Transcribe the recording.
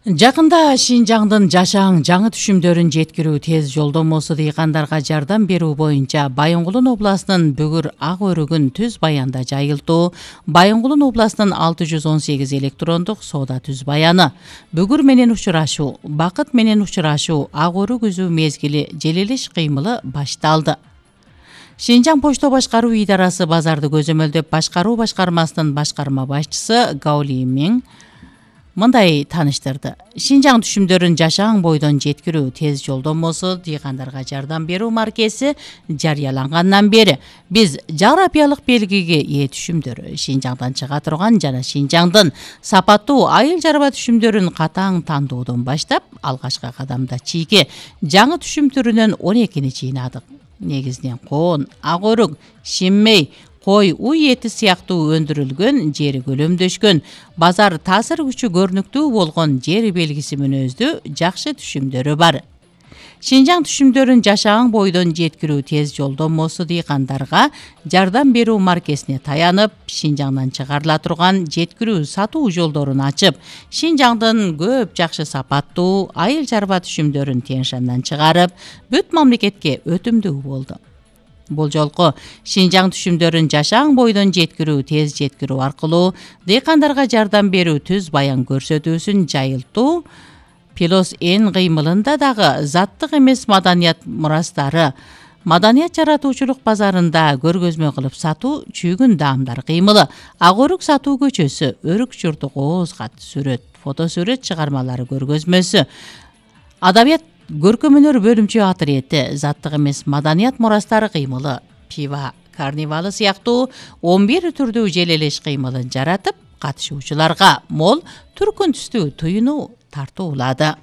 Жакында Шинжаңдын жашаң жаңы түшүмдөрүн жеткирүү тез жолдомосу дыйкандарга жардам берүү боюнча Байынгулун областынын Бүгүр ак өрүгүн түз баянда жайылтуу. Байынгулун областынын 618 электрондук соода түз баяны. Бүгүр менен учурашуу, бакыт менен учурашуу, ак өрүк үзүү мезгили желелеш кыймылы башталды. Шинжаң почто башкаруу идарасы базарды көзөмөлдөп башкаруу башкармасынын башкарма башчысы Гаули Миң мындай таныштырды. Шинжаң түшүмдөрүн жашаң бойдон жеткирүү тез жолдомосу дыйкандарга жардам берүү маркеси жарыялангандан бери биз жаграпиялык белгиге ээ түшүмдөр Шинжаңдан чыга турган жана Шинжаңдын сапаттуу айыл чарба түшүмдөрүн катаң тандоодон баштап алгачкы кадамда чийги жаңы түшүм түрүнөн 12-ни жыйнадык. Негизинен коон, ак өрүк, шиммей, кой, уй эти сыяктуу өндүрүлгөн, жери көлөмдөшкөн, базар таасир күчү көрүнүктүү болгон жер белгиси мүнөздүү жакшы түшүмдөрү бар. Шинжаң түшүмдөрүн жашаң бойдон жеткирүү тез жолдомосу дыйкандарга жардам берүү маркесине таянып, Шинжаңдан чыгарыла турган жеткирүү сатуу жолдорун ачып, Шинжаңдын көп жакшы сапаттуу айыл чарба түшүмдөрүн Тянь-Шаньдан чыгарып, бүт мамлекетке өтүмдүү болду. Бул жолку Шинжаң түшүмдөрүн жашаң бойдон жеткирүү тез жеткирүү аркылуу дыйкандарга жардам берүү түз баян көрсөтүүсүн жайылтуу Пилос Н кыймылында дагы заттык эмес маданият мурастары, маданият жаратуучулук базарында көргөзмө кылып сатуу чүйгүн даамдар кыймылы, ак өрүк сатуу көчөсү, өрүк журту кооз кат сүрөт, фотосүрөт чыгармалары көргөзмөсү, адабият көркөм-өнөр бөлүмчө атриети, заттык эмес маданият мурастары кыймылы, пива карнивалы сыяктуу 11 түрдүү желелеш кыймылын жаратып, катышуучуларга мол түркүн түстүү туюну тартуулады.